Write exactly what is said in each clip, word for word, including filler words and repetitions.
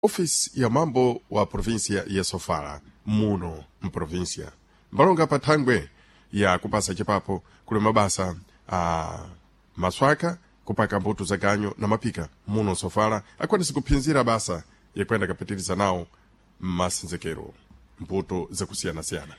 Ofisi ya mambo wa província ya Sofala muno mprovíncia mbalonga pa thangwe ya kupasa cipapo kuli mabasa a maswaka kupaka mbuto za ganyo na mapika muno Sofala akwanisa kuphinzira basa yakwenda kapitiriza nawo mmasenzekero mbuto zakusiyanasiyana.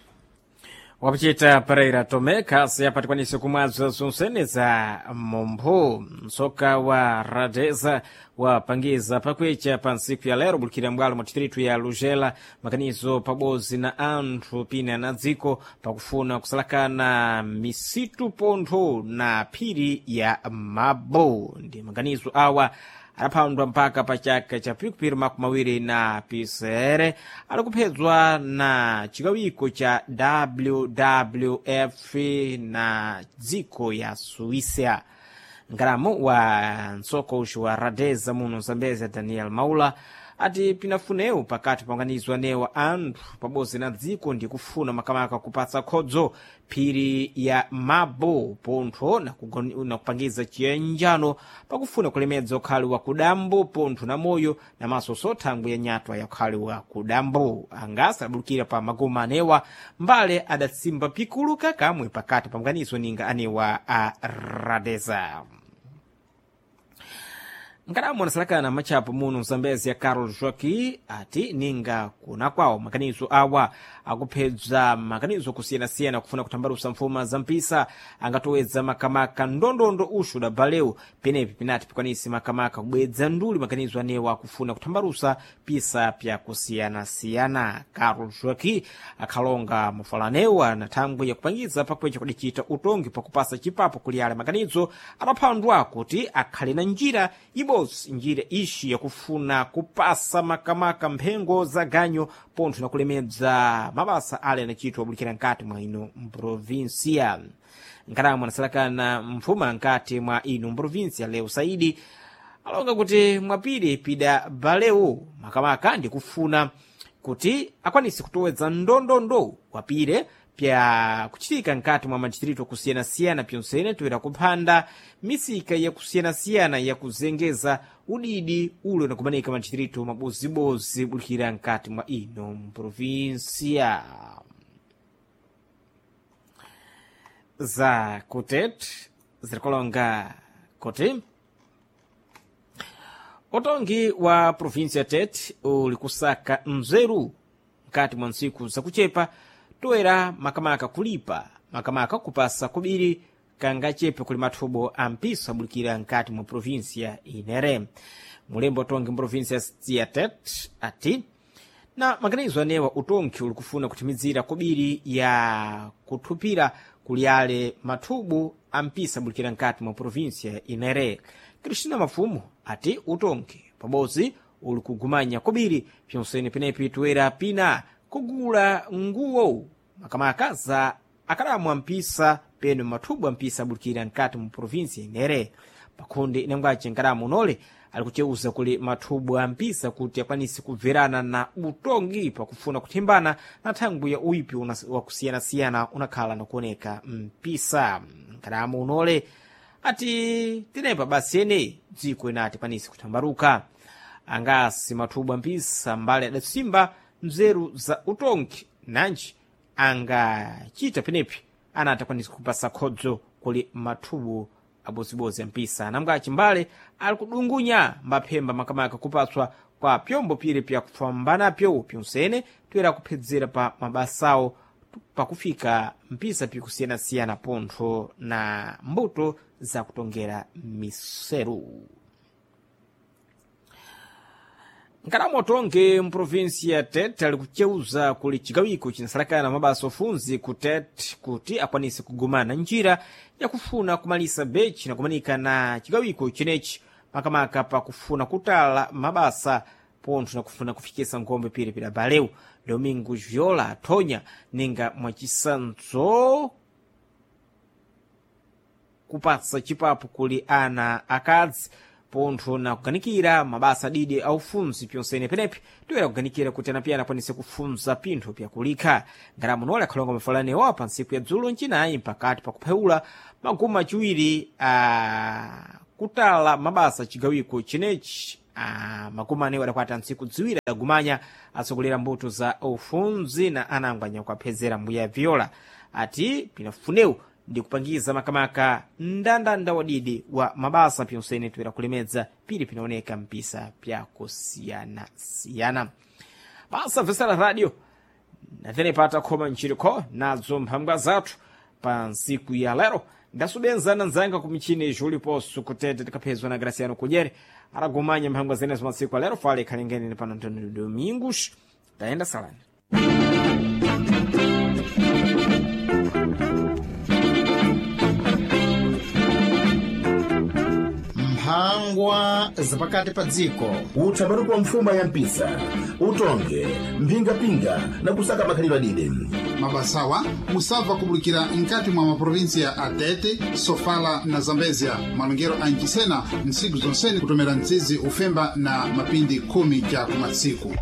Wapuchita Pereira Tome khasi apatikwanise kumwaza zonsene za mompho. Msoka wa Radeza wapangiza pakwecha pa ntsiku ya lero bulikira mbwalo mwa distritu ya Lugela makanizo pabodzi na anthu pina na dziko pakufuna kusalakana misitu pontho na phiri ya Mabo. Ndi maganizo awa adaphandwa mpaka pa chaka cha pikupiri makumi awiri na pisere alikuphedzwa na chikawiko cha W W F na dziko ya Suíça. Ngalamo wa mtsoko uxu wa Radeza muno Zambezia, Daniel Maula, ati pinafunewu pakati panganizwa newa anthu pabodzi na dziko ndi kufuna makamaka kupatsa khodzo phiri ya Mabo pontho na kugon- na kupangiza chiyanjano pakufuna kulemedza ukhali wa kudambo pontho na moyo na masoso thangwi ya nyatwa ya ukhali wa kudambo. Angasa adabulukira pa magoma anewa mbale adatsimba pikulu kakamwe pakati pa mganizo ninga anewa a Radeza. Nkadamu anasalakana matchapo muno Mzambezi ya Carol Joaqui ati ninga kuna kwawo makanizo awa akuphedza makanizo kusiyanasiyana kufuna kutambalusa mfuma za mpisa angatowedza makamaka ndondondo uxu da baleu penepi pinati pikwanisi makamaka kubwedza nduli makanizo anewa akufuna kutambalusa pisa pyakusiyanasiyana. Carol Joaqui akhalonga mafalanewa na thangwi yakupangiza pakwecha kudicita utongi pakupasa chipapo kuli ale makanizo adaphandwa kuti akhale na njira ibodzi, njira ixi yakufuna kupasa makamaka mphengo za ganyo pontho na kulemedza mabasa ale anachitwa abulikira nkati mwa ino mprovinsia. Nkalamu anasalakana mfuma nkati mwa ino mprovinsia Leo Saidi alonga kuti mwapiri pida baleu makamaka ndikufuna kuti akwanise kutowedza ndondondo wapire pya kuchitika nkati mwa madistritu akusiyanasiyana pyonsene toera kuphanda misika yakusiyanasiyana yakuzengeza udidi ule unakumanika madistritu mabozibozi bulikira nkati mwa ino mprovinsia. Za kutet zirikolonga kuti utongi wa provinsia Tete uli kusaka mzeru mkati mwa ntsiku zakuchepa toera makamaka kulipa makamaka kupasa kubiri kangachepe kuli mathubo a mpiso abulikira nkati mwa provinsia inere. Mulembo utongi mprovinsia ya Tete ati na maganizo anewa utongi uli kufuna kuthimizira kobiri ya kuthupira kuli ale mathubu a mpisa abulikira nkati mwa provinsia inere. Cristina Mafumo ati utongi pabodzi uli kugumanya kobiri pyonsene penepi toera pina kugula nguwo makamaka za akalamu ampisa peno mathubu ampisa abulikira nkati mu provinsia inere. Pakhonde inangwace nkalamu unole ali kuceuza kuli mathubu ampisa kuti akwanise kubverana na utongi pakufuna kuthimbana na thangwi ya uipi wakusiyanasiyana unakhala nakuoneka mpisa. Nkalamu unole ati tinepa basi ene dziko inati kwanise kuthambaruka angasi mathubu ampisa mbale adatsimba mzeru za utongi nanji angachita penepi anati akwanise kupasa khodzo kuli mathubu abozibozi ampisa. Namgaci mbale ali kudungunya mbaphemba makamaka kupatswa kwa pyombo pire pyakufambanapyo pyonsene toera kuphedzera pa mabasawo pakufika mpisa pikusiyanasiyana pontho na mbuto zakutongera miseru. Nkalamu otonge mprovinsi ya Tete ali kuceuza kuli chigawiko cinasalakana mabasa ofunzi ku Tete kuti akwanise kugumana njira yakufuna kumalisa bechi na kumanika na chigawiko chenechi makamaka pakufuna kutala mabasa pontho na kufuna kufikisa nkhombe pire pida baleu. Domingo Viola athonya ninga mwachisanzo kupatsa chipapo kuli ana akadzi pontho na kuganikira mabasa adidi aufunzi pyonsene penepi toera kuganikira kuti anapiyana akwanise kufunza pinthu pyakulikha. Ngalamu nole akhalonga mafalanewa pa ntsiku ya dzulo ncinayi pakati pakuphewula maguma aciwiri a kutala mabasa chigawiko chenechi. ah, makumi anayi adakwata ntsiku ziwiri adagumanya atsogolera mbuto za ufunzi na anangwanya kuaphezera mbuya viola ati pinafunewu ndi kupangiza makamaka mndandanda wadidi wa mabasa pyonsene toera kulemedza pili pinaoneka mpisa pyakusiyanasiyana basa vesera radio natenepa takhoma nchirikho nadzo mphambwa zathu pa ntsiku ya lero ndasubenzana nzanga ku michini juliposo kutete tikaphezwa na graciano kudyere aragumanya mphambwa zenezo masiku alero fale ikhalengenene pano antonio domingos tayenda salani mphangwa zapakati pa dziko utsamatupa mfuma ya mpisa utonge mphingapinga na kusaka makhalidwe adide mabasawa musabva kubulikira nkati mwa maprovinsiya a Tete, Sofala na Zambezia malongero a nchisena ntsiku zonsene kutomera mtsizi ufemba na mapindi khumi cha kumatsiku.